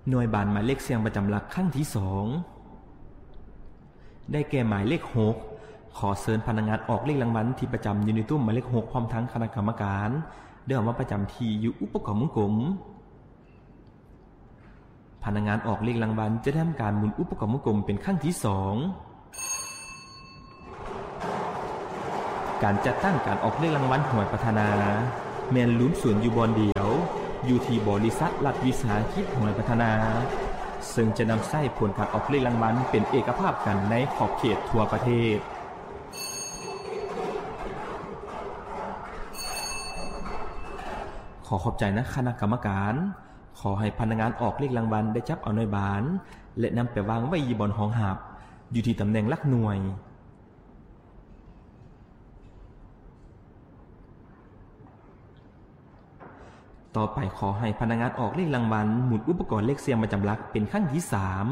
ໜ່ວຍບານໝາຍເລກສ່ຽງປະຈຳຫຼັກຄັ້ງທີສອງ ໄດ້ແກ່ໝາຍເລກຫົກ. ຂໍເຊີນພະນັກງານອອກເລກລາງວັນທີ່ປະຈຳຢູ່ໃນຕຸ້ມໝາຍເລກຫົກ ພ້ອມທັງຄະນະກຳມະການ ໄດ້ອອກມາປະຈຳທີ່ຢູ່ອຸປະກອບວົງກົມ. ພະນັກງານອອກເລກລາງວັນຈະໄດ້ທຳການໝູນອຸປະກອບວົງກົມເປັນຄັ້ງທີສອງ. ການຈັດຕັ້ງການອອກເລກລາງວັນຫວຍພັດທະນາ ແມ່ນລວມສູນຢູ່ບ່ອນດຽວ ຢູ່ທີ່ບໍລິສັດລັດວິສາຫະກິດຫວຍພັດທະນາ ເຊິ່ງຈະນຳໃຊ້ຜົນການອອກເລກລາງວັນເປັນເອກະພາບກັນໃນຂອບເຂດທົ່ວປະເທດ. ຂໍຂອບໃຈນະຄະນະກຳມະການ. ຂໍໃຫ້ພະນັກງານອອກເລກລາງວັນໄດ້ຈັບເອົາໜ່ວຍບານ ແລະ ນຳໄປວາງໄວ້ຢູ່ບ່ອນຮອງຮັບ ຢູ່ທີ່ຕຳແໜ່ງຫຼັກໜ່ວຍ. ຕໍ່ໄປ ຂໍໃຫ້ພະນັກງານອອກເລກລາງວັນໝູນອຸປະກອນເລກສ່ຽງປະຈຳຫຼັກເປັນຄັ້ງທີສາມ.